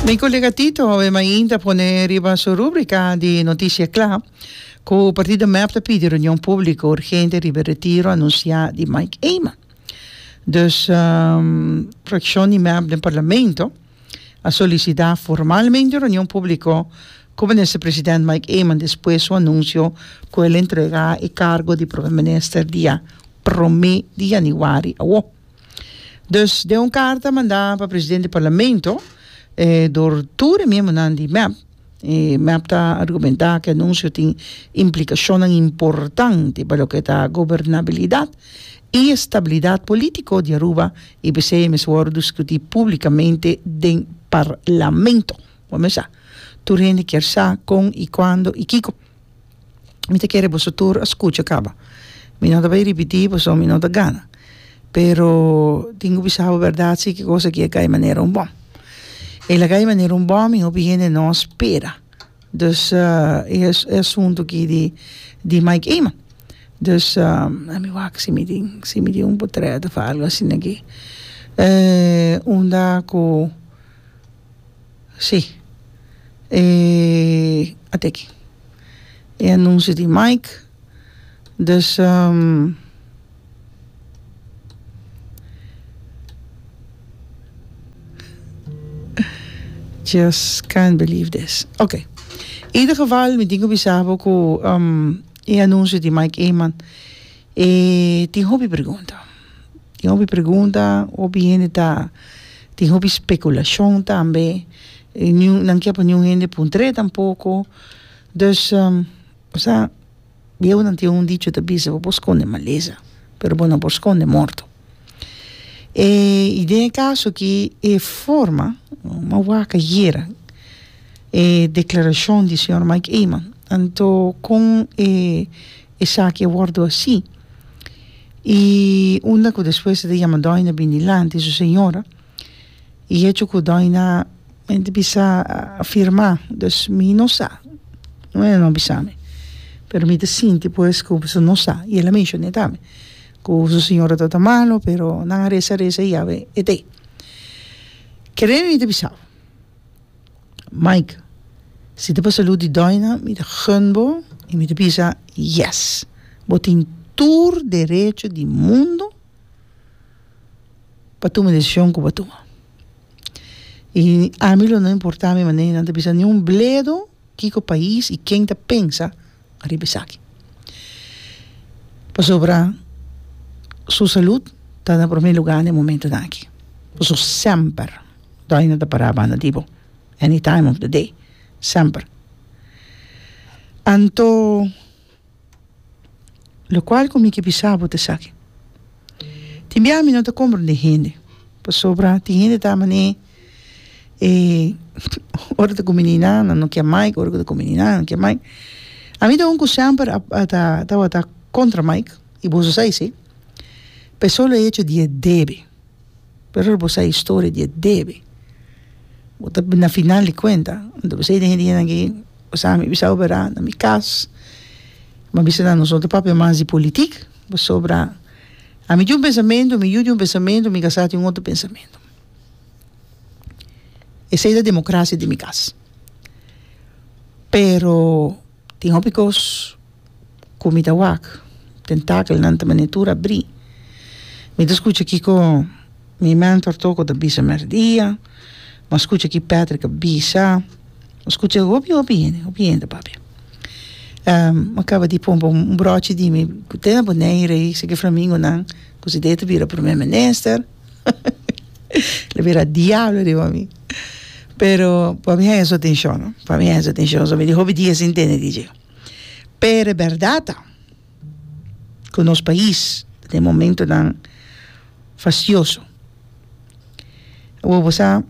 Mi kolega Tito awe mainta a pone riba su rubrika di Noticia Kla ku partido mep ta pidi reunion públiko urgente riba e retiro anunsiá di Mike Eman. Dus frakshon di mep den parlamento a solisitá formalmente un reunion públiko ku minister president Mike Eman despues su anunsio ku el entregá e kargo di prome minister dia prome di yanüari awo. Dus den un karta mandá pa presidente di parlamento dor tur e miembronan di mep, e mep ta argumentá ku e anunsio tin implikashonnan importante pa loke ta gobernabilidat i estabilidat polítiko di Aruba i p'esei e mester wòrdu diskutí públikamente den parlamento. Bo mes sa, tur hende kier sa kon i kuando i kiko. Mi ta kere boso tur a skucha kaba. Mi no ta bai ripití pasobra mi no ta gana. Pero tin ku bisa bo bèrdat si ki kos aki a kai manera un bòm. El a kai manera un bòm i hopi hende no a spera. Dus e asuntu aki di di Mike Eman. Dus mi wak si mi tin si mi tin un potrèt òf algu asina aki. Unda ku. Sí. E a teki. E anuncio di Mike. Dus um, just can't believe this. Ok. In ieder geval, mi tin ku bisa bo ku um, e anuncio di Mike Eman e tin hopi pregunta. Tin hopi pregunta, hopi hende ta tin hopi spekulashon tambe, niun nan ke pa niun hende puntr'é tampoko. Dus, osea, bieunan tin un dicho ta bisa, bo por skonde malesa, pero bo no por skonde morto. E i den e kaso aki e forma, mi a wak ayera e deklarashon di señor Mike Eman, anto kon e esaki a wòrdu hasi. I unda ku despues e ta yama Doina bin dilanti su señora i hecho ku Doina mi ta bisa a firma dus mi no sa no e no bisa mi pero mi ta sinti pues ku su no sa i el a menshone tambe ku su señora ta ta malo pero nan a resa resa i yawe e ta ei kere mi ta bisa bo. Mike, si ta pa salud di Doina, mi ta gun bo y mi ta bisa yes. Bo tin tur derecho di mundo pa tuma e decision cu bo a tuma. Y ami lo no importa mi manera nan ta bisa ni un bledo kico pais y ken ta pensa riba esaki. Pasobra su salud ta na prome lugar na e momentonan aki. Pasobra semper. Doina ta pará banda di bo any time of the day, semper. Anto lokual ku mi ke bisa bo ta esaki, tin bia mi no ta komprendé hende, pasobra tin hende ta manera e ora ta kumini nan, nan no ke Mike, ora ku ta kumini nan, nan no ke Mike. Ami ta un ku semper a ta tabata kontra Mike, i boso sa esei, pa e solo hecho di e debe. Pero bo sa historia di e debe. Bo ta na final di cuenta. Anto p'esei den e dianan aki, bo sa mi bisa obera na mi cas. Mi a bisa nan nos no ta papia mas di politic, pasobra ami tin un pensamentu, mi yu tin un pensamentu, mi casá tin un otro pensamentu. Esei ta democracia den mi cas. Pero tin hopi cos. Ku mi ta wak, tentakelnan ta manera tur abrí. Mi ta skucha kiko mi mentor Toko ta bisa mèrdia, mi a skucha ki Patrick a bisa, mi a skucha hopi hopi hende, hopi hende ta papia. Mi a kaba di pompa un brochi di mi ku te na Bonaire ei, seki flamingonan ku si ta bira prome minister, lo bira diablo riba mi. Pero pa mi haña su atenshon, no, pa mi haña su atenshon, so mi di hopi dia sin tende di dje. Pero e bèrdat ta ku nos pais ta den momentonan fastioso. Awor bo sa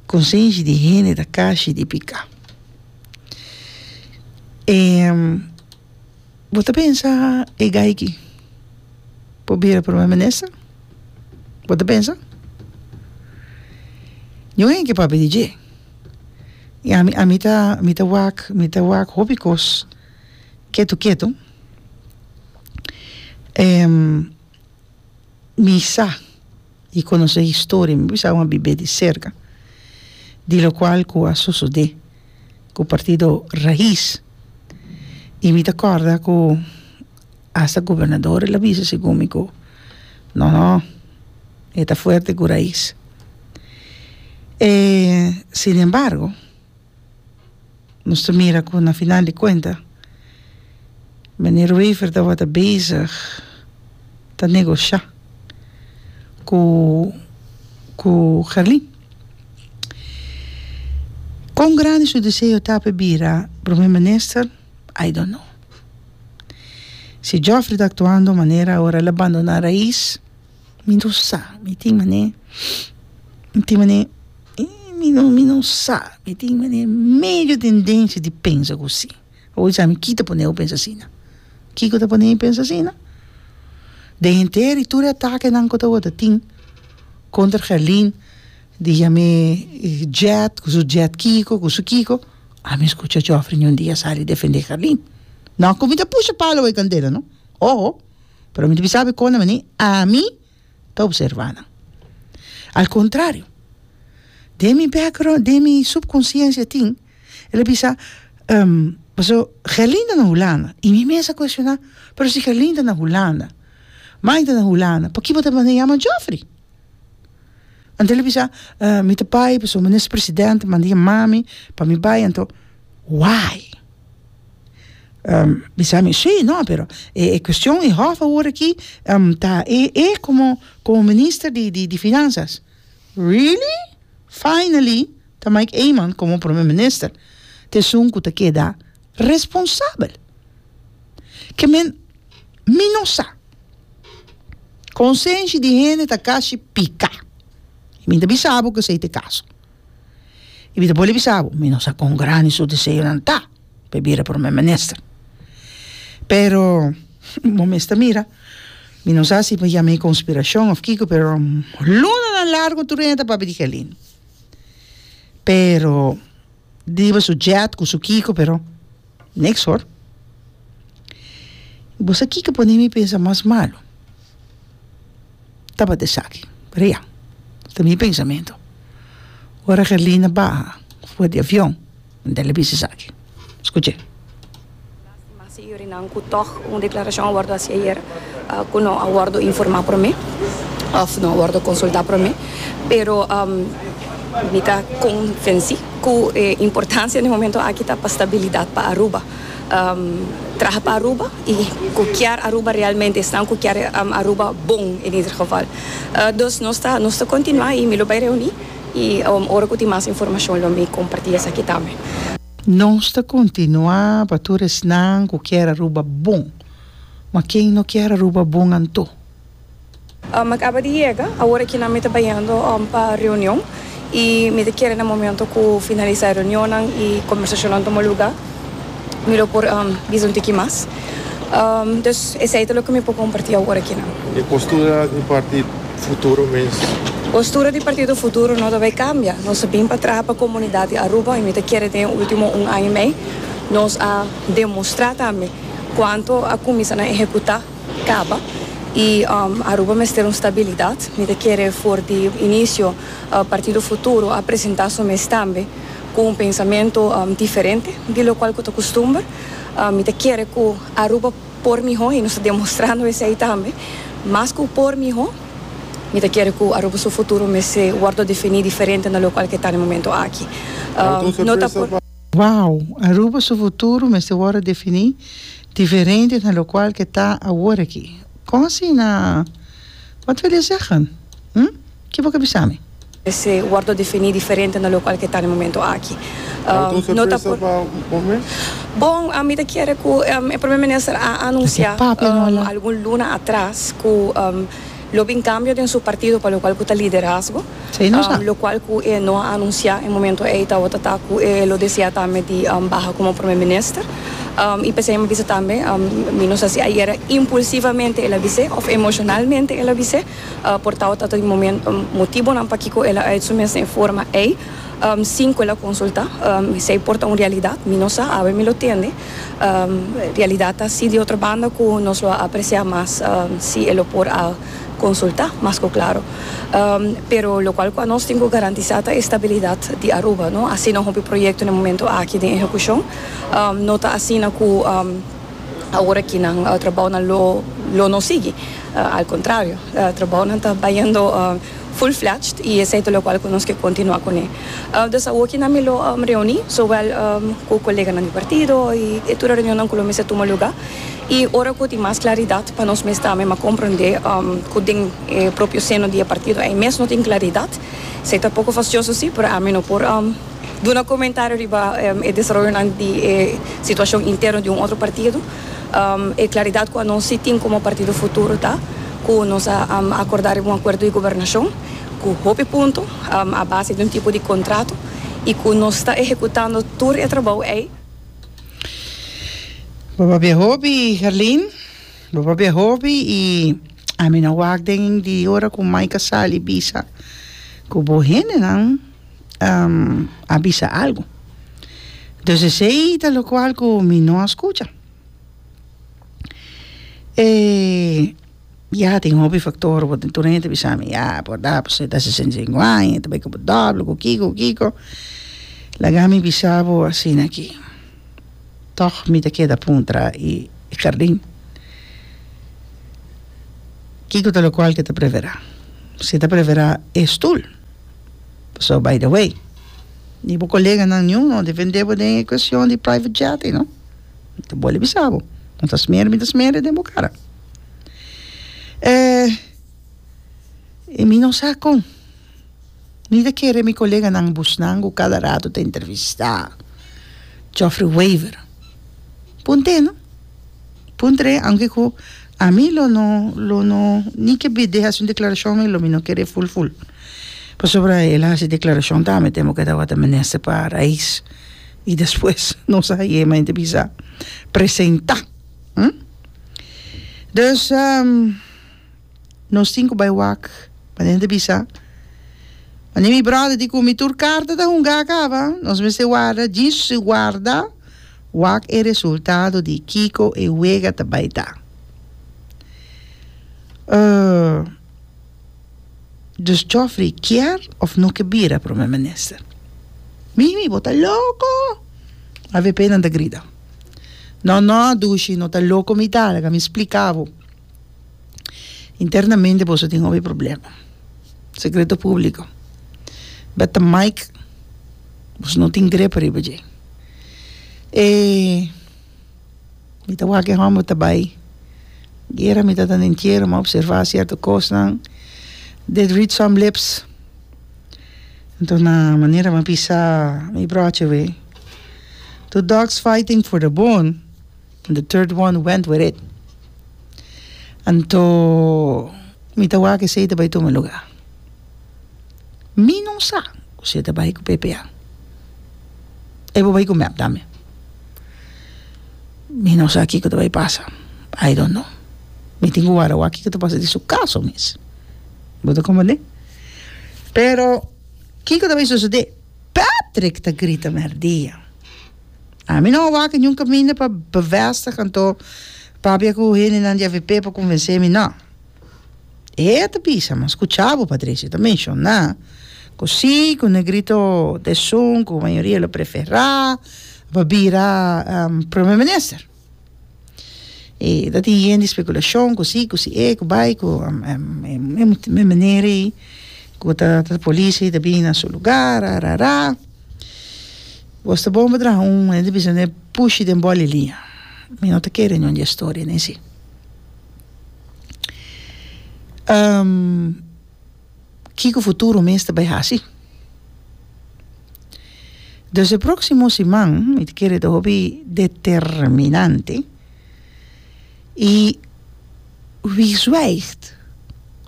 konsenshi di hende ta kashi di piká. E bo ta pensa e gai aki por bira prome minister? Bo ta pensa? Niun hende ke papia di dje. I ami ami ta mi ta wak mi ta wak hopi kos ketu ketu. Mi sa i konosé historia, mi bisa un a bibé di serka. di locual cu a sosode cu partido Raiz y mi ta corda cu hasta gobernador el a bisa segun mi cu no no e ta fuerte cu Raiz e sin embargo nos ta mira cu na final di cuenta meneer Wever tabata bezig ta negosha cu cu Gerlin. Con grandi su deseo ta pa bira Prome Minister, I don't know. Si Geoffrey ta actuando manera ora el a bandona Raiz, mi no sa, mi tin mane, mi tin mane, mi no, mi no sa, mi tin mane medio tendencia di pensa cu si. Bo bisa mi ki ta pone bo pensa asina? Kiko ta pone mi pensa asina? Den henter i tur e atakenan ku tabata tin kontra Gerlin di yam'é jet ku su jet kiko ku su kiko, ami skucha Geoffrey niun dia sali defendé Gerlin. No ku mi ta pusha palo bai kandela no, oho, pero mi ta bisa bo kon na manera ami ta observa nan. Al kontrario, den mi background, den mi subkonsiensia tin. El a bisa, Paso Gerlin ta na Hulanda. I mi mes a cuestiona, pero si Gerlin ta na Hulanda, Mike ta na Hulanda, paki bo ta manda yama Geoffrey? Anto el a bisa, Mi ta bai pasobra minister president a manda yama mi pa mi bai, anto why? Bisa mi, si, no, pero e cuestion e hof awor aki ta e e como como minister di di finanzas. Really? Finally? Ta Mike Eman komo Prome Minister ta esun ku ta keda responsabel. Ke men mi no sa. Konsenshi di hende ta kashi pika. I mi ta bisa bo ku esei ta e kaso. I mi ta bolbe bisa bo, mi no sa kon grandi su deseonan ta pa e bira Prome Minister. Pero bo mes ta mira, mi no sa si pa yama e konspirashon òf kiko, pero lunanan largu tur hende ta papia di Gelin. Pero riba su jet cu su kico pero niks hoor. Bo sa kico pone mi pensa mas malo? Tabata esaki, pero ya, ta mi pensamento. Ora Gerlina baha for di avion, mi ta bisa esaki. Scuche. Lastima si yurinan cu tog un declaracion a wordo haci ayer cu no a wordo informa prome of no a wordo consulta prome, pero mi ta convenci cu e importancia na e momento aki ta pa stabilidad pa Aruba, traha pa Aruba y cu kier Aruba realmente, esnan cu kier Aruba bon en ieder geval. Dus nos ta nos ta continua y mi lo bay reuni y ora cu tin mas informacion lo mi comparti esaki tambe. Nos ta kontinuá pa tur esnan ku kier Aruba bon. Ma ken no kier Aruba bon anto? Mi a kaba di yega, awor aki nan mi ta bayendo pa reunion y mi ta kere na momento cu finalisa e reunionnan y conversacionnan tuma luga mi lo por bisa un tiki mas. Dus esey ta loke mi por comparti awor aki nan. E postura di parti Futuro mes. Postura di Partido Futuro no ta bay cambia. Nos a bin pa traha pa comunidad di Aruba y mi ta kere den e ultimo un aña y mey nos a demostra tambe cuanto a cuminsa na ehecuta caba y Aruba mester un stabilidad. Mi ta kere for di inicio Partido Futuro a presenta su mes tambe cu un pensamento diferente di locual cu ta custumber. Mi ta kere cu Aruba. Por mihó, i nos ta demostrando esei tambe, mas ku por mihó, mi ta kere ku Aruba su futuro mester wòrdu definí diferente na lokual ke ta na e momento aki. No ta por. Wow! Aruba su futuro mester wòrdu definí diferente na lokual ke ta awor aki. Kon asina? Wat wil je zeggen? Hm? Ki bo ke bisa mi? Mester wordo defini diferente na locual ke ta na e momento aki. No ta por. Bon, mi ta kere cu e Prome Minister a anuncia algun luna atras cu lo bin cambio den su partido pa locual cu ta liderazgo. Locual cu e no a anuncia e momento ey tabata ta cu e lo desea tambe di baha como Prome Minister. Y p'esey mi a bisa tambe, mi no sa si ayer impulsivamente el a bis'e of emocionalmente el a bis'e. Por tawata ta di momento motibonan pakiko el a uit su mes den e forma ei. Sin cu el a consulta. Esey por ta un realidad, mi no sa, awe mi lo tende. Realidad ta si di otro banda cu nos lo a aprecia mas si e lo por a consulta, mas cu claro. Pero locual cu anos tin cu garantisa ta e stabilidad di Aruba, no? Asina hopi proyecto na e momento aki den ehecucion. No ta asina cu awor aki nan trabounan lo lo no sigui. Al contrario, trabounan ta bayendo full fledged y esey ta locual cu nos ke continua cune. Dus awoki nan mi lo reuni zowel cu coleganan di partido y e tur e reunionnan cu lo mester tuma luga y ora cu tin mas claridad pa nos mes tambe ma comprende cu den e propio seno di e partido ey mes no tin claridad. Esey ta poco fastioso si, pero ami no por duna comentario riba e desaroyonan di e situacion interno di un otro partido. E claridad cu anos si tin como Partido Futuro ta cu nos a acorda riba un acuerdo di gobernacion cu hopi punto a base di un tipo di contrato y cu nos ta ehecutando tur e trabou ey. Bo papia hopi, Gerlin. Bo papia hopi y ami no wak den di ora cu Mike a sali bisa cu bo hendenan a bisa algo. Dus esey ta locual cu mi no a scucha. E ya tin hopi factor bo tin tur hende ta bisa mi ya por da pasobra e ta 65 aña e ta bay cu bo doble cu kico cu kico. Laga mi bisa bo asina aki tog mi ta keda puntra e jardin kico ta locual ke ta prefera si e ta prefera e stoel. So by the way, ni bo koleganan niun no defende bo den e cuestion di private jet ei no. Mi ta bolbe bisa bo, no ta smer mi ta smer den bo cara. Eh, y mi no sa con. Mi ta kere mi koleganan busnan cu cada rato ta entrevista Geoffrey Wever. Punte no. Puntr'é, aunke ku ami lo no lo no ni ke bid'é hasi un deklarashon mi lo mi no kere ful ful. Pasobra el a hasi deklarashon tambe tempu ku e tabata minister pa Rais i despues nos a haye ma hende bisa presentá. Hm. Dus nos tin ku bai wak manera hende bisa manera mi bròder di ku mi tur karta ta hungá kaba nos mester warda djis warda. Wak e resultado di kiko e wega ta bai ta. Uh, dus Geoffrey kier of no ke bira prome minister? Mimi, bo ta loko! AVP nan ta grita. No, no, dushi, no ta loko mi ta, laga mi splika bo. Internamente boso tin hopi problema. Secreto publico. Beta Mike, boso no tin grip riba dje. E mi ta wak e homber ta bai guera, mi ta ta den tiero, mi a observa cierto cosnan. Did read some lips. Enton na manera mi a bisa mi broche we, Two dogs fighting for the bone. And the third one went with it. Anto mi ta wak esei ta bai tuma lugar. Mi no sa ku si e ta bai ku PPA. E por bai ku mep tambe. Mi no sa kiko ta bai pasa. I don't know. Mi tin ku wara wak kiko ta pasa den su kaso mes. Bo ta komprende? Pero kiko ta bai sosode? Patrick ta grita merdia. Ami no a wak niun kaminda pa bevestig anto papia ku hendenan di avp pa konvensé mi no. E ta bisa, mi a skucha bo Patricia ta menshoná ku si ku Negrito ta esun ku mayoria lo preferá pa bira prome minister. E ta tin yen di spekulashon ku si ku si e ku bai ku e meneer ei ku ta polis ei ta bini na su lugar ra ra ra. Bos ta bon pa traha un hende bisa ne pushi den boli liña. Mi no ta kere niun di e storia nei si. Kiko futuro mes ta bai hasi? Dus e próksimo siman mi ta kere ta hopi determinante i wie zwijgt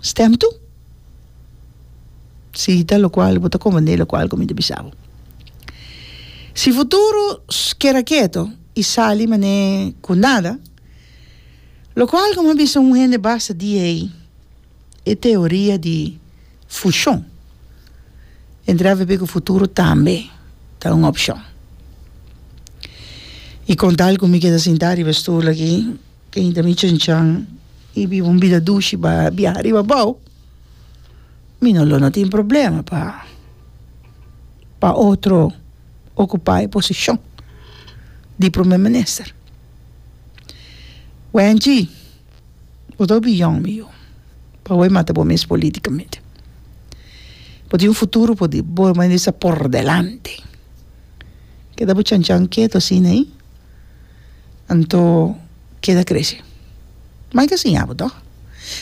stemt toe. Si ta lokual bo ta komprendé lokual ku mi ta bisa bo. Si futuro keda keto i sali manera ku nada, lokual ku mi a bisa un hende basta di ei, e teoria di fushon. Entre avp ku futuro tambe ta un opshon. I kon tal ku mi keda sintá riba e stul aki, keinta mi chanchan i biba un bida dushi ba biaha riba abou, mi no lo no tin problema pa pa otro okupá e posishon di prome minister. Wenchi, bo ta hopi yòn mi yu, pa bo e mata bo mes politikamente. Bo tin un futuro por di bo mester por delante. Keda bo chanchan ketu asina ei, anto keda krese. Mike a siña bo tòg.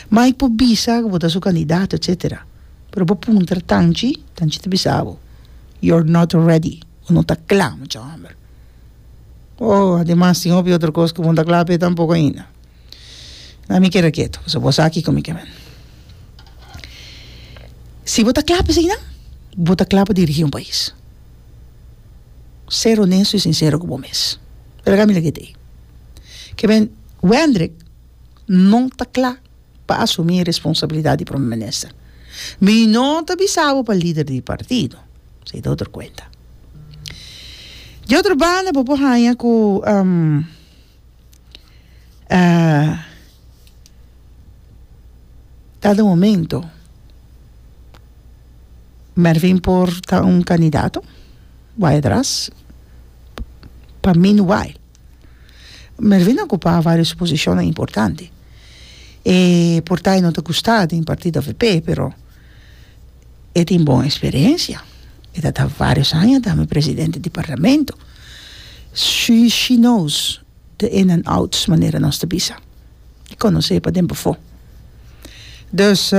Mike por bisa ku bo ta su kandidato etsetera, pero bo puntra Tanchi, Tanchi ta bisa bo, you're not ready, bo no ta kla mucha hòmber. Oh, ademas tin hopi otro kos ku bo no ta kla p'e tampoko ainda. Na mi keda ketu, pasobra bo sa kiko mi ke men. Si bo ta kla p'esei nan, bo ta kla pa dirigí un pais. Ser honesto i sinsero ku bo mes. Pero mi lag'é t'ei. Ke men Wendrick no ta kla pa asumí e responsabilidat di prome minister. Mi no ta bisa bo pa lider di partido, esei ta otro kuenta. Di otro banda bo por haña ku dado momento Mervin por ta un kandidato bai atras pa meanwhile Mervin a ocupa varios posicionnan importante e por ta e no ta gusta den partido avp pero e tin bon experiencia e ta ta varios aña tambe presidente di parlamento she she knows the in and outs manera nos ta bisa e conoce paden pafo dus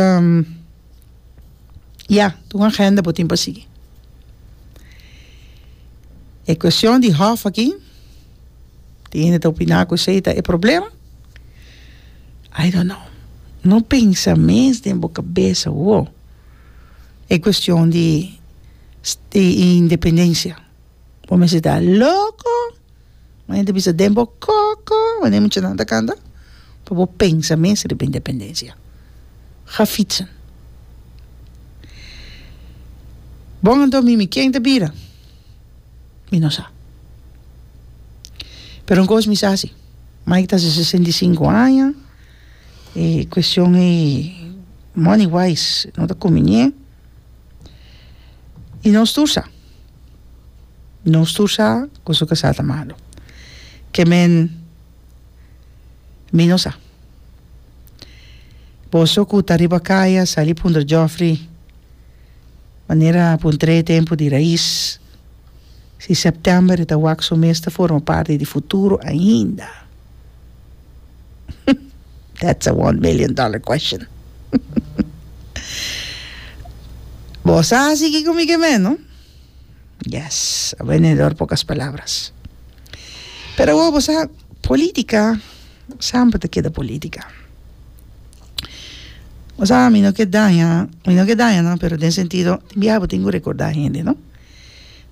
Ya, ta un agenda bo tin pa sigui. E cuestion di hof aki, tin hende ta opina cu esey ta e problema. I don't know. No pensa mes den bo cabeza awo e cuestion di di independencia. Bo mester ta loco. Un hende bisa den bo koko, wanneer muchanan ta kanta, pa bo pensa mes riba independensia. Ga fietsen. Bon anto mimi ken ta bira? Mi no sa. Pero un kos mi sa si, Mike ta hasi 65 aña, e kuestion ei money wise no ta kuminié, i nos tur sa. Nos tur sa ku su kasá ta malu. Ke men mi no sa. Boso ku ta riba kaya sali puntra Geoffrey manera a puntr'é e tempu di rais si sèptèmber e ta wak su mes ta forma parti di futuro ainda. That's a one million dollar question. Bo sa hasi kiko mi ke men, no? Yes, a vendedor pocas palabras. Pero awor bo sa, politica semper ta keda politica. Bo sa, mi no ke daña, mi no ke daña no, pero den sentido, tin biaha bo tin ku recorda hende, no?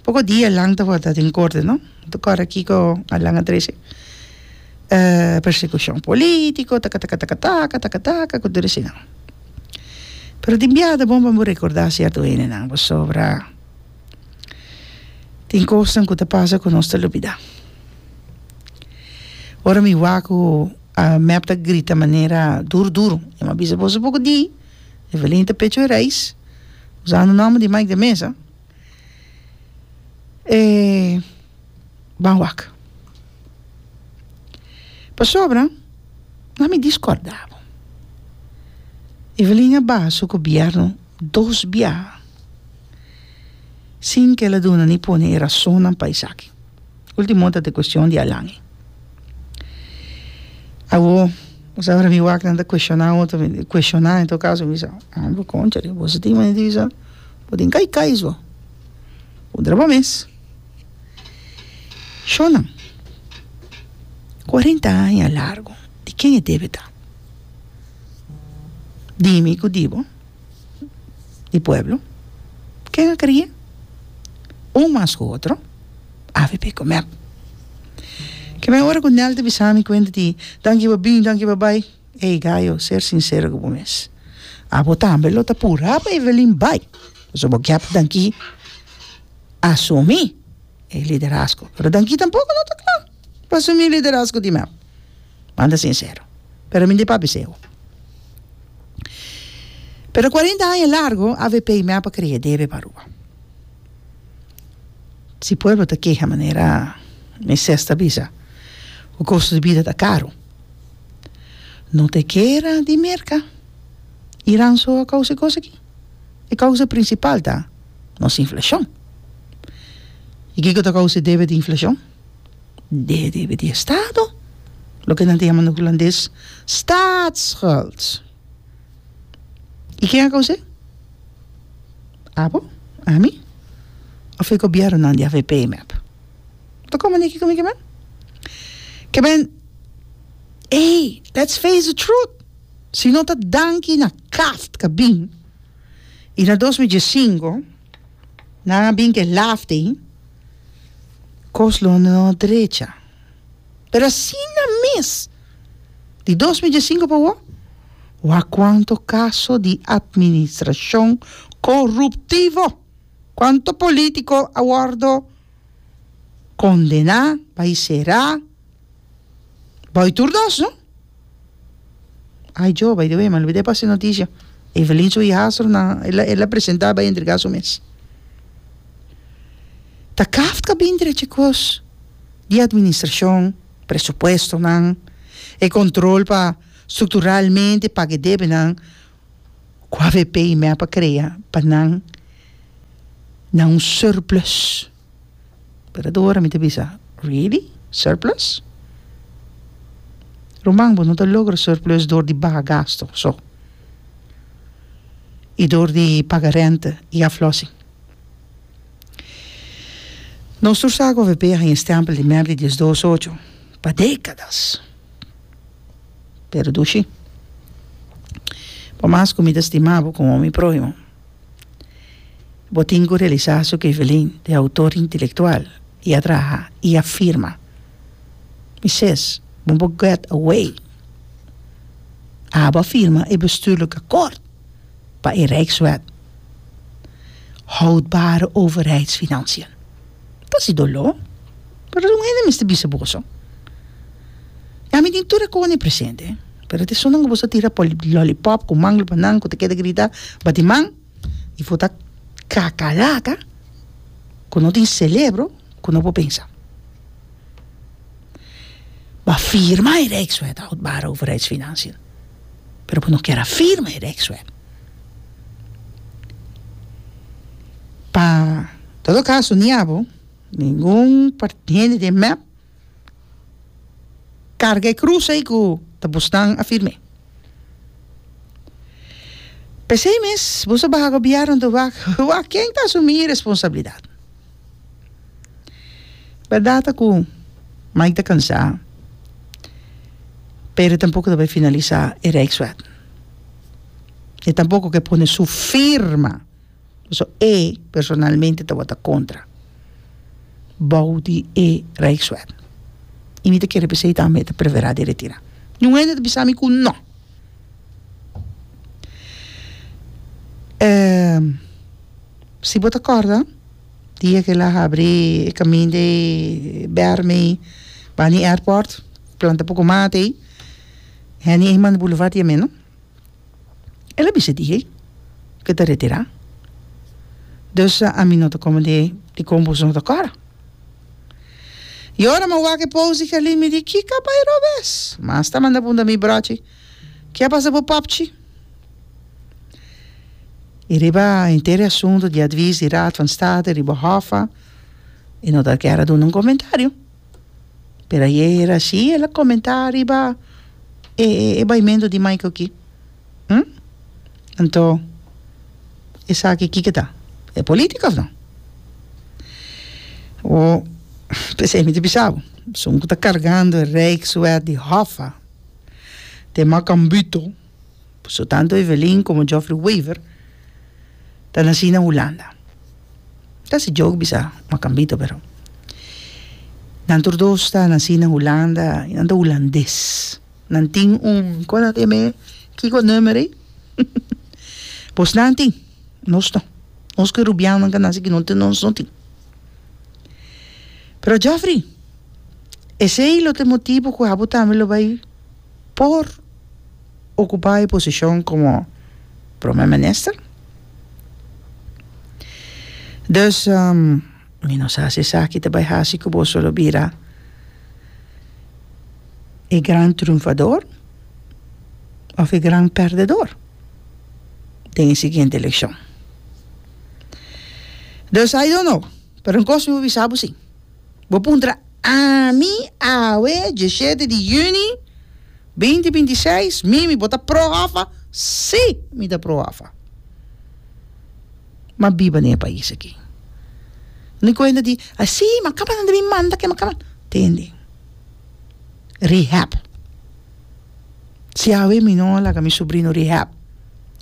Poko dia Alan tabata den korte, no? Ta kòrda kiko Alan a trese? Persekushon politiko, taka taka taka taka, taka taka, ku tur eseinan. Pero tin biaha ta bon pa bo rekordá sierto hendenan pasobra tin kosnan ku ta pasa ku nos ta lubidá. Ora mi wak ku mep ta grita manera duru duru, mi a bisa boso poko di, Evelyn ta pecho e reis, usando nòmber di Mike de Meza. E ban wak. Pasobra na mi discorda bo. Evelyn a baha su gobierno dos biaha sin ke el a duna ni pone e rasonnan pa esaki. Ultimo ta e cuestion di Alan. Awo, bo sa ora mi wak nan ta cuestiona otro, cuestiona en todo caso mi bisa, hombre concha, boso tin manera di bisa. Bo tin kai kai so. Puntra bo mes. Shonnan, cuarenta aña largo, di ken e debe ta? Di mi cu di bo, di pueblo. Ken a cria? Un mas cu otro, avp cu mep. Ke men ora cu Nel ta bisa mi cuenta di danki pa bin, danki pa bai. Ey Gayo, ser sincero cu bo mes. Abo tambe lo ta pura pa Evelyn bai. Pasobra bo kier pa Danki asumi e liderazgo. Pero Danki tampoco no ta cla pa asumi e liderazgo di mep. Manda sincero. Pero mi di papia seo. Pero cuarenta aña largo avp y mep a crea debe pa Aruba. Si pueblo ta keha manera Moises ta bisa cu costo di bida ta caro, no ta e kera di Merca, Iran so a causa e cos aki. E causa principal ta nos inflacion. Y kico ta causa e debe di inflacion? E debe di estado, loke nan ta yama na Hulandes staatsschuld. Y ken a caus'e? Abo? Ami? Of e gobiernonan di avp y mep? Ta como neki cu mi ke men? Ke men, ey, let's face the truth! Si no ta danki na kaft ka bin y na 2015 nan a bin ke laft ey, cos lo no drecha. Pero asina mes, di 2015 pa awor, wak cuanto caso di administracion coruptivo, cuanto politico a wordo condena, bay cera, bay tur dos, no? Ay jo, by the way, mi a olbida pasa e noticia. Evelyn su hijastro na, el a, el a presenta bay entrega su mes. Ta Kafka bin drecha e cos di administracion, presupuestonan, e control pa structuralmente paga e debenan cu avp y mep a crea pa nan na un surplus. Pero tur ora mi ta bisa, really? Surplus? Ruman, bo no ta logra surplus door di baha gasto so y door di paga rente y aflossing. Nos tur sa cu avp a haña stempel di mep di diesdos ocho pa decadas. Pero dushi, por mas cu mi ta stima bo como mi prohimo, Bo tin cu realisa su cu Evelyn ta e autor intelectual y a traha y a firma. Mi ses, bo por get away. Abo a firma e bestuurlijk akkoord pa e Rijkswet Houdbare Overheidsfinanciën. Ta si doló, pero un hende mester bisa boso. Ya mi tin tur e cosnan presente, pero ta esunnan cu boso a tira lollipop cu mangel pa nan cu ta keda grita bati man y for ta kakalaka cu no tin celebro cu no por pensa. Bo a firma e Rijkswet Houdbare Overheidsfinanciën, pero bo no kier a firma e Rijkswet. Pa todo caso ni abo, ningun hende den mep Carga e cruz ey cu ta bosnan a firm'é. P'esey mes boso a baha gobierno anto wak wak ken ta asumi responsabilidad. Berdad ta cu Mike ta cansa pero e tampoco ta bay finalisa e Rijkswet. E tampoco ke pone su firma. Pasobra e personalmente tabata kontra bou di e Rijkswet. I mi ta kere p'esei tambe e ta preferá di retirá. Niun hende ta bisa mi ku no. Si bo ta kòrda dia ku el a habri e kaminda ei Bermey bani airport planta poko mata ei, Henny Eman Boulevard yam'é no. El a bisa di ke ta retirá. Dus ami no ta komende dikon boso no ta kòrda. I ora mi a wak e post di Gerlin mi di kiko a bai robes? Mas ta manda punta mi brochi, ke a pasa bo popchi? I riba henter e asuntu di advis di Raad van State riba Hoffa e no ta kier a duna un komentario. Pero ayera si el a comenta riba e baimento di Michael ki. Hm? Anto esaki kiko ta? E politica of no? O p'esei mi ta bisa bo, esun ku ta cargando e Rijkswet di Hoffa te Macambito, pasobra tanto Evelyn como Geoffrey Wever ta naci na Hulanda. Ta si joke bisa Macambito pero nan tur dos ta naci na Hulanda y nan ta Hulandes. Nan tin un con nan ta yama e? Kiko nummer ey? Bos nan tin, nos no. Nos ku e rubianonan ku a nase aki no nos no tin. Pero Geoffrey, esei lo ta e motibu ku abo tambe lo bai por okupá e posishon komo prome minister? Dus mi no sa si esaki ta bai hasi ku boso lo bira e gran triunfador òf e gran pèrdedor den e siguiente elekshon. Dus I don't know, pero un kos mi por bisa bo si, bo puntra ami awe diesshete di yüni binti 26, Mimi bo ta pro Hoffa? Si mi ta pro Hoffa. M'a biba den e pais aki. Ni kuenta di, a si, m'a kaba nan ta bin manda ke m'a kaba. Tende. Rehab. Si awe mi no a laga mi sobrino rehab.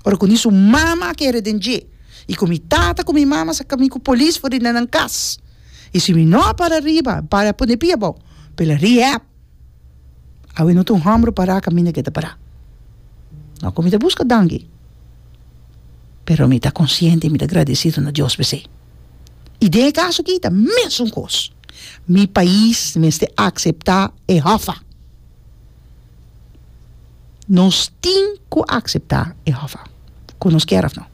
Ora ku ni su mama a kere den dje. I ku mi tata ku mi mama saka mi ku polis for di na nan kas. I si mi no a para riba, para pone pia abou, pela rehab. Awe no ta un hòmber pará kaminda ke ta pará. No ku mi ta buska danki, pero mi ta konsiente i mi ta gradesido na Dios p'esei. I den e kaso aki ta mesun kos. Mi pais mester akseptá e hòfa. Nos tin ku akseptá e hòfa, ku nos kier òf no.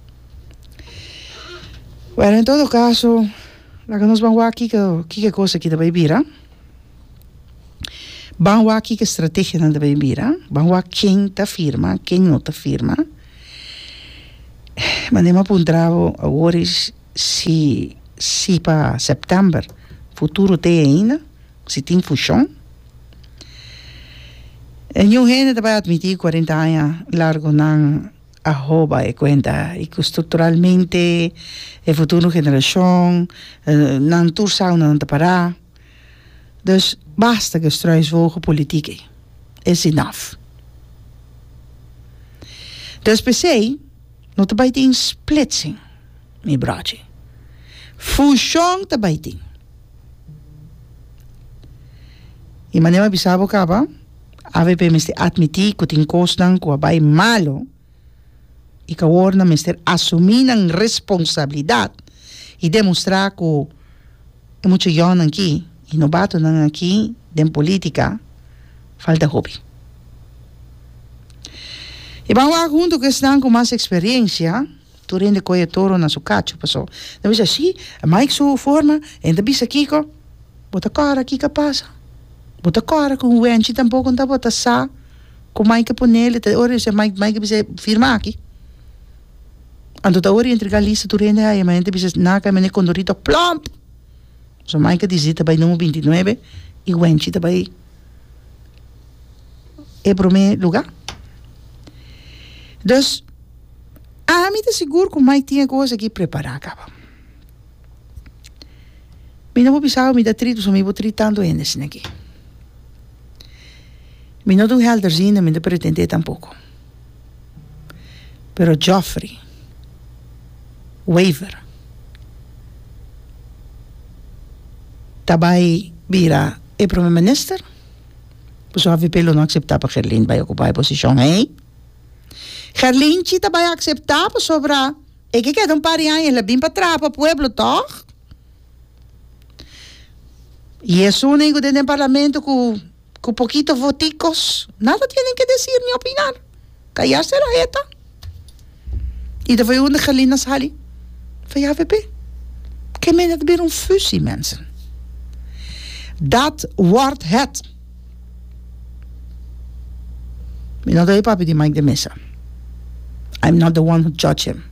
Bueno, en todo kaso, laga nos ban wak kiko kiko e kos aki ta bai bira. Ban wak kiko estrategianan ta bai bira, ban wak ken ta firma, ken no ta firma. Manera mi a puntra bo awor is si si pa sèptèmber futuro t'ei ainda, si tin fushon. Niun hende ta bai atmití kuarenta aña largu nan a hoba e kuenta i ku strukturalmente e futuro generashon nan tur sa unda nan ta pará. Dus basta ku e struisvogel politiek ei. It's enough. Dus p'esei no ta bai tin splitsing, mi brochi. Fushon ta bai tin. I manera mi a bisa bo kaba, avp mester atmití ku tin kosnan ku a bai malo i ku awor nan mester asumí nan responsabilidat i demostrá ku E mucha yònnan aki i nobatonan aki den polítika falta hopi. I ban wak huntu ku esnan ku mas eksperensia, tur hende kohe e toro na su kachu paso nan bisa si, Mike su forma, e ta bisa kiko, bo ta kòrda kiko a pasa? Bo ta kòrda ku un wenchi tampoko no tabata sa ku Mike a ponel, ta ora di Mike, Mike a bisa firma aki. Anto ta ora entrega lista tur hende haya ma hende bisa naka mene Condorito plomp! So Mike a disi ta bai numero 29 y Wenchi ta bai e prome luga. Dus ami ta sigur ku Mike tin e kos aki prepara kaba. Mi no por bisa bo mi ta trit pasobra mi por trit tantu hende asina aki. Mi no ta un helderziende mi no ta pretende tampoco. Pero Geoffrey Wever ta bai bira e prome minister? Pasobra avp lo no acepta pa Gerlin bai ocupa e posicion ey. Gerlinchi ta bai acepta pasobra e ke keda un par di aña el a bin pa traha pa pueblo toch? Y esun ey cu den den parlamento cu. Cu poquito voticos nada tienen que decir ni opinar. Callarse la jeta. Y ta foi unda Gerlin a sali? Foi avp. Ke men het bira un fusie mensen. Dat wordt het. Mi no ta e papia di Mike de Meza. I'm not the one who judge him.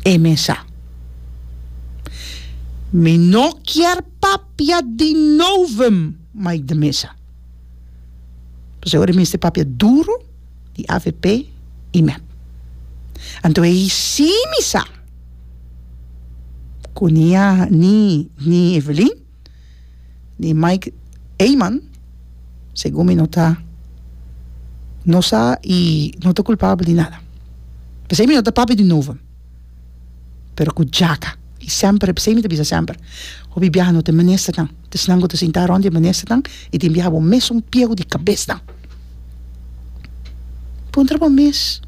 E mesa. Mi no kier papia di novum Mike de Meza. Pasobra ora e mester papia duro di avp y mep. Anto ei si mi sa cu ni a ni ni Evelyn ni Mike Eman segun mi no ta no sa y no ta culpabel di nada. P'esei mi no ta papia di novum. Pero ku djaka. I semper, p'esei mi ta bisa semper, hopi biaha no ta e ministernan, ta esnan ku ta sinta rònt di e ministernan i tin biaha bo mesun pieu di kabesnan. Puntra bo mes,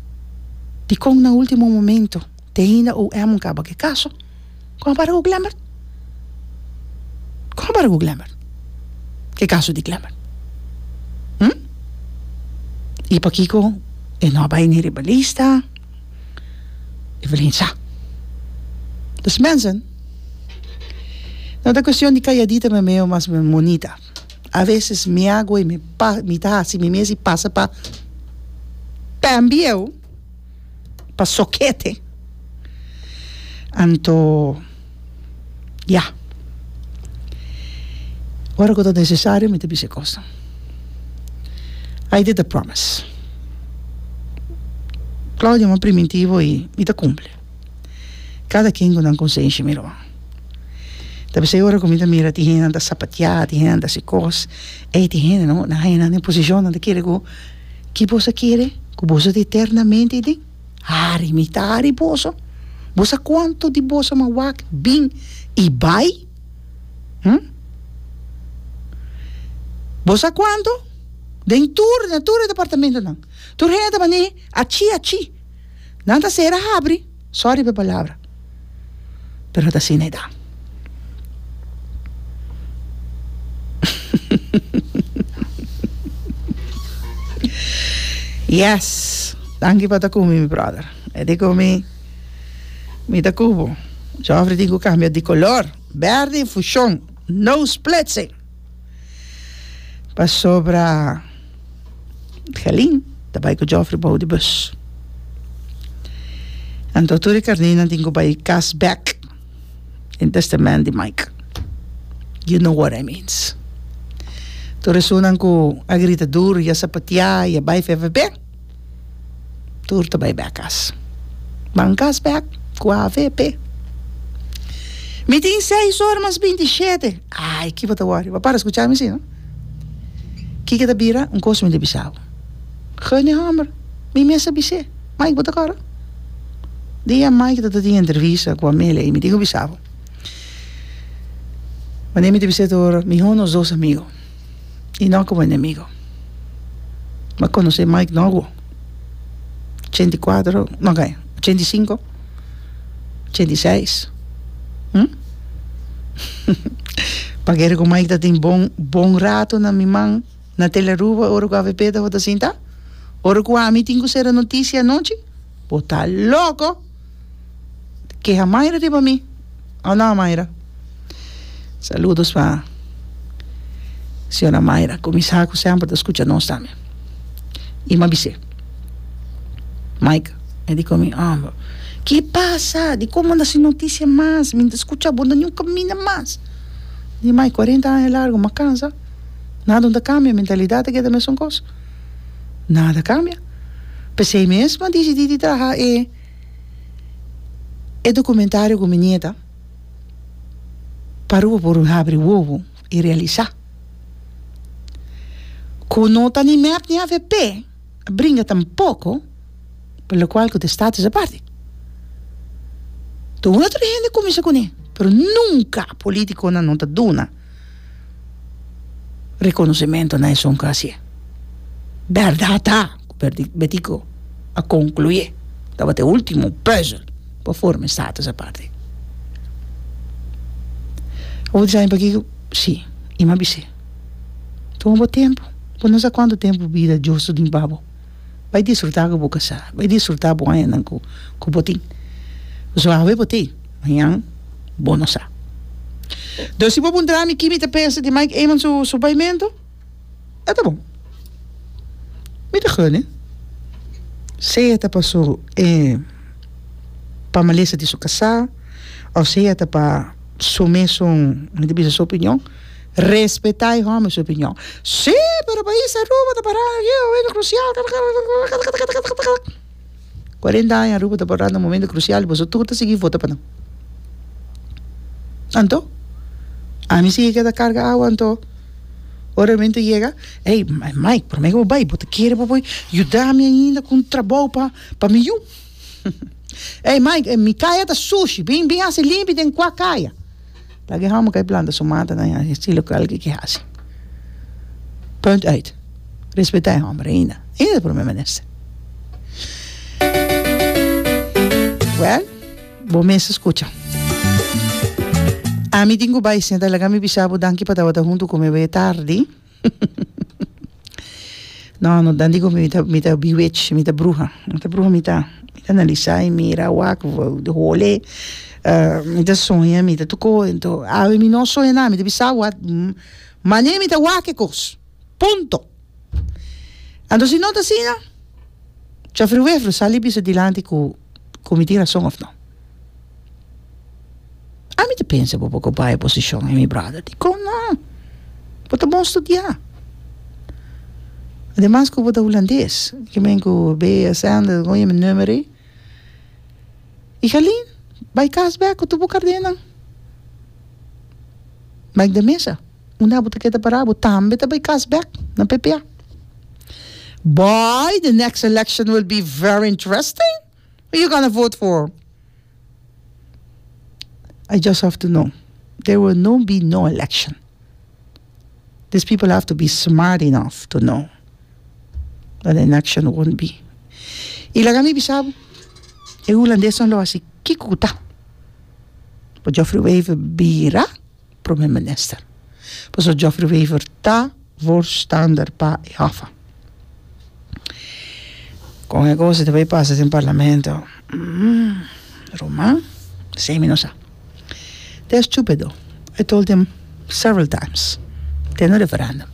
dikon na ultimo momento? Te ainda OM un kaba ku e kaso. Kon a para ku Glenbert? Kon a para ku Glenbert? Ku e kaso di Glenbert? Hm? I pakiko e no a bai ni riba lista? Evelyn sa. Dus mensen, no ta cuestion di calladita me meo mas me monita. A veces mi hago y mi pa mi ta haci mi mes y pasa pa pen bieu, pa sokete. Anto, ya. Ora cu ta necesario mi ta bisa e cosnan. I did a promise. Claudia mi a priminti bo y mi ta cumpli. Cada quien cu nan consenshi mi ruman. Ta p'esey ora cu mi ta mira tin hendenan ta sapatia, tin hendenan ta haci cos, ey tin hende no, nan haya nan den posicion nan ta kere cu ki boso a kere? Cu boso ta eternamente den? Hari mi ta hari boso. Bo sa cuanto di boso a wak bin y bay? Hm? Bo sa cuanto? Den tur, na tur e departamentonan. Tur hende ta mane achi achi. Nan ta sera habri, sorry pa e palabra, pero ta asina e ta. Yes, danki pa ta cu mi, mi brother. E di cu mi, mi ta cu bo. Geoffrey tin cu cambia di color. Berde y fusion, no splitsing. Pasobra Gelin ta bai cu Geoffrey bou di bus. Anto tur e carninan tin cu bai cas bek den testament di Mike. You know what I means. Tur esunnan cu a grita duro y a sapatia y a bai VVP. Tur ta bai bek kas. Ban kas bek ku avp. Mi tin seis ora mas 27. Ai, ki bo ta wòri? Bo a para skucha mi si, no? Kiko ta bira? Un kos mi ta bisa bo. Gun e hòmber. Mi mes a bis'é. Mike, bo ta kòrda? Dia Mike ta ta tin entrevista ku Amelia i mi tin ku bisa bo. Wanneer mi ta bis'é tur, mihó nos dos amigo. I no komo enemigo. Bo a konosé Mike Norwo? 84, no kaya, 85, 86, hm? Pa kere ku Mike ta tin bon bon rato na mi man na Telearuba ora ku avp tabata sinta? Ora ku ami tin ku sera notisia anochi? Bo ta loko! Keha Mayra riba mi. Oh no Mayra. Saludos pa señora Mayra cu mi sa cu semper ta scucha nos tambe. Y m'a bis'é, Mike, e di cu mi, oh, ki pasa? Di con bo no ta haci noticia mas? Mi no ta scucha bo na niun caminda mas. Di Mike, cuarenta aña largo, m'a cansa. Nada no ta cambia, mentalidad ta keda mesun cos. Nada a cambia. P'esey mes m'a dicidi di traha e. E documentario cu mi nieta pa Aruba por habri wowo y realisa cu no ta ni mep ni avp a bringa tampoco pa locual cu ta status aparte. Tur otro hende cuminsa cune pero nunca politiconan no ta duna reconocimento na esun cu hacié. Berdad ta cu Betico a concluye tabata e ultimo puzzel pa forma e status aparte. Bo ta sabi pakico? Si, y m'a bis'é, Tuma bo tempo, bo no sa cuanto tempo bida Dios ta dun pa bo. Bai disfruta cu bo casa, bai disfruta bo añanan cu bo tin. Pasobra awe bo tin, mañan bo no sa. Dus si bo puntra mi ki mi ta pensa di Mike Eman su su baimento, e ta bon. Mi ta gun e. Sea ta pa su e pa malesa di su casá of sea ta pa su mesun, mi ta bisa su opinion, respetá e hòmber su opinion. Sí, pero pais Aruba ta pará na un momento crucial. 40 aña Aruba ta pará na un momento crucial y boso tur ta sigui vota pa nan. Anto, ami sigui keda carga awa anto ora e momento yega, ey Mike, prome ku bo bai, bo ta kere pa bo yuda mi ainda ku un trabou pa pa mi yu? Ey Mike, mi kaya ta sushi, bin bin hasi limpi den kua kaya. Laga e hòmber kai planta su mata na estilo ku algu ke hasi. Punt uit. Respetá e hòmber ainda. Ainda ta prome minister. Wèl. Bo mes a skucha. Ami tin ku bai senta laga mi bisa bo danki pa tabata huntu ku mi awe tardi. No, no dan digo mi ta mi ta bewitch, mi ta bruha. Mi ta bruha mi ta mi ta analisa y mira wak hole mi ta soña mi ta tuko ento awe mi no soña nada mi ta bisa bo mane mi ta wak e kos punto. Anto si no ta asina Geoffrey Wever sali bisa dilanti ku ku mi tin rason of no. Ami ta pensa bo poko bai oposishon mi brother. Dikon no? Bo ta bon studiá. Ademas ku bo ta hulandes. Ke men ku BSN, kon yama e number ei? I Jalin, bai kas bek ku tur bo kardenan. Mike de Meza, unda bo ta keda pará bo tambe ta bai kas bek na PPA. Boy, the next election will be very interesting. Who you gonna vote for? I just have to know there will no be no election. These people have to be smart enough to know that an election won't be. Y laga mi bisa bo, e hulandesnan lo haci kico cu ta pa Geoffrey Wever bira prome minister. Pasobra Geoffrey Wever ta voorstander pa e hoffa. Con e cosa ta bay pasa den parlamento? Ruman, esey mi no sa. They're stupido. I told them several times. Te no referendum.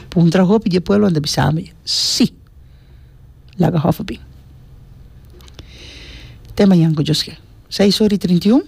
Puntra hopi di e pueblo nan ta bisa mi si. Laga hoffa bin. Te mañan cu Dios ke. Seis ora y 31.